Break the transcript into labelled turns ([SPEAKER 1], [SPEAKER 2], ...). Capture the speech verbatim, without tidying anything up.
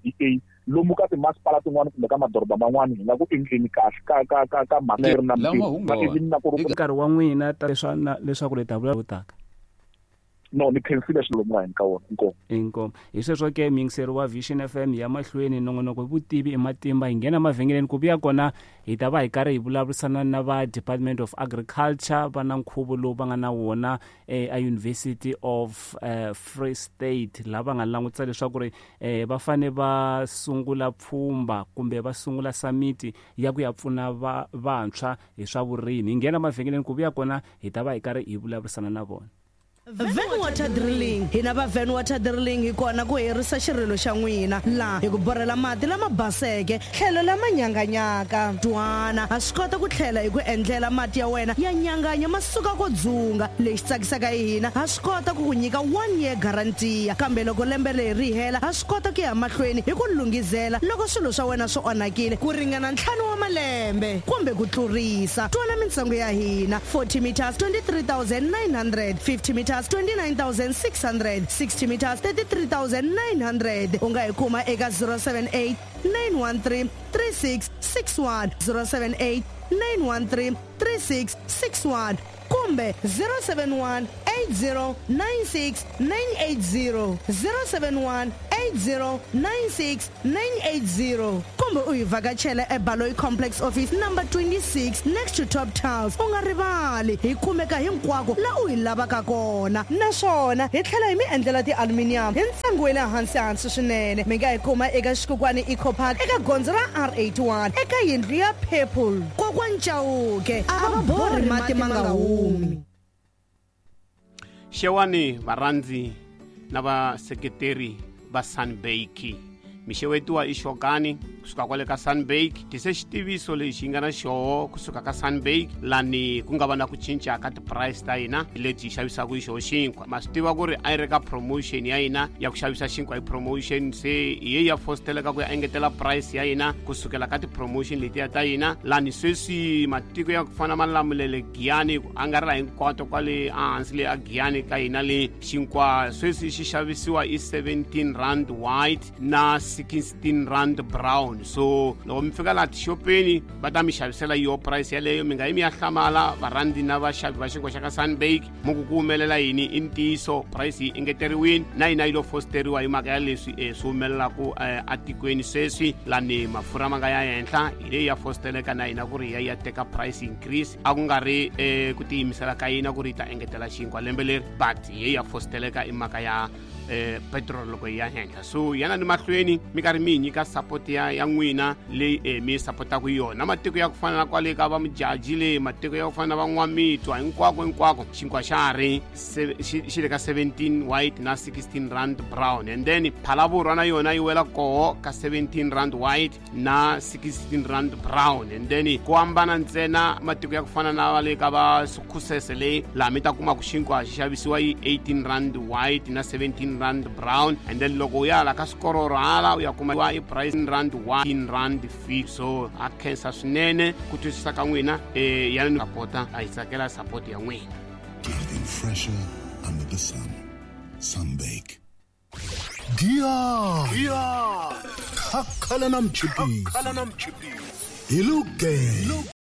[SPEAKER 1] D A lomu ka timasipala tin'wana kumbe ka madoroba man'wana hi nga ku endleni kahle ka ka ka ka mhaka leri na mitirho na ku ri
[SPEAKER 2] nkarhi wa n'wina ta leswa leswaku le ta vulavula taka.
[SPEAKER 1] No, ni khensile swilo lomu nga ka wona. Inkomu.
[SPEAKER 2] Inkomu. Hi sweswo ke muyingiseri wa Vision F M ya mahlweni nongonoko vutivi ematimba hi nghena mavhengeleni ku vuya kona hi ta va hi karhi hi vulavurisana na va Department of Agriculture va na nkhuvo lowu va nga na wona a University of uh, Free State lava nga langutisa leswaku ri eh, va fane va sungula pfhumba kumbe va sungula summit ya ku ya pfuna va vantshwa hi swa vurimi. Hi nghena mavhengeleni ku vuya kona hi ta va hi karhi hi vulavurisana na vona.
[SPEAKER 3] Van Water Drilling hina va Van Water Drilling hi kona ku herisa xirilo xa n'wina laha hi ku borhela mati lama baseke tlhelo lama nyanganyaka twana ha swi kota ku tlhela hi ku endlela mati ya wena ya nyanganya ma suka ko dzunga lexi tsakisaka hi hina ha swi kota ku ku nyika one year guarantee kambe loko lembe leri ri hela ha swi kota ku ya mahlweni hi ku lunghizela loko swilo swa wena swi onhakile ku ringana ntlhanu wa malembe kumbe ku tlurisa. Twana mintsengo ya hina forty meters twenty-three thousand nine hundred, fifty meters twenty-nine thousand six hundred, sixty meters thirty-three thousand nine hundred. U nga hi kuma eka zero seven eight nine one three three six six one, zero seven eight nine one three three six six one kumbe zero seven one eight zero nine six nine eight zero, zero seven one eight zero nine six nine eight zero kumbe u hi vhakachela eBaloyi Complex Office number twenty-six next to Top Tiles. U nga rivali hi kumeka hinkwako la u hi lavaka kona naswona hi tlhela hi mi endlela ti-aluminium hi ntsengo wa le hansi hansi swinene. Mi nga hi kuma eka Xikukwani Eco Park eka gondzo ra R eighty-one eka yindlu ya Purple. Kokwani Chauke a va borhi mati ma nga humi.
[SPEAKER 4] Xewani varhandzi na vaseketeri va Sunbake. Mixewetiwa i Xokani kusuka kwale ka Sunbake. Tise xitiviso lexi nga na xoho kusuka ka Sunbake lani ku nga va na ku cinca ka ti-price ta hina leti hi xavisaka hi xoho xinkwa. Ma swi tiva ku ri a yi ri ka promotion ya hina ya ku xavisa xinkwa hi promotion, se hi ye ya fosteleka ku ya engetela price ya hina kusukela ka ti-promotion letiya ta hina lani sweswi matiko ya ku fana Malamulele, Giyani ku angarhela hinkwato kwale ehansi le a Giyani ka hina le xinkwa sweswi xi xavisiwa i seventeen rand white na sixteen rand brown. So loko mi fika laha tixopeni va ta mi xavisela yo price yaleyo, mi nga yi mi ya hlamala varhandzi na vaxavi va xinkwa xa ka Sunbake mu ku ku humelela yini. I ntiyiso price yi engeteriwile na yina yi lo fosteriwa hi mhaka ya leswi um swi humelelaku atikweni sweswi lani mafurha ma nga ya henhla hi leyi ya fosteleka na hina ku ri ya ya teka price increase. A ku nga ri um ku tiyimisela ka yina ku ri yi ta engetela xinkwa lembe leri, but hi ye ya fosteleka i mhaka ya eh petrol loko yi ya henhla. So yana ni mahlweni mi karhi mi hi nyika support ya ya n'wina leyi eh, mi supportaka yona matiko ya ku fana na kwale ka va Mujaji le matiko ya ku fana na van'wamitwa hinkwako hinkwako xinkwa xa ha ri xi le ka seventeen white na sixteen rand brown, and then Phalaborwa na yona yi wela koho ka seventeen rand white na sixteen rand brown. And then ku hambana ntsena matiko ya ku fana na le ka va Sukhusese le laha mi ta kuma ku xinkwa xi xavisiwa yi eighteen rand white na seventeen rand brown, and then loko u ya la ka swikororo hala u ya kuma i price rand one rand fee. So a khensa swinene ku twisisa ka n'wina eh ya ni support-a a hi tsakela support ya n'wina.
[SPEAKER 5] Getting fresher under the sun. Sunbake.
[SPEAKER 6] Giya! Giya! Khakhala na mchipisi. Hi luge.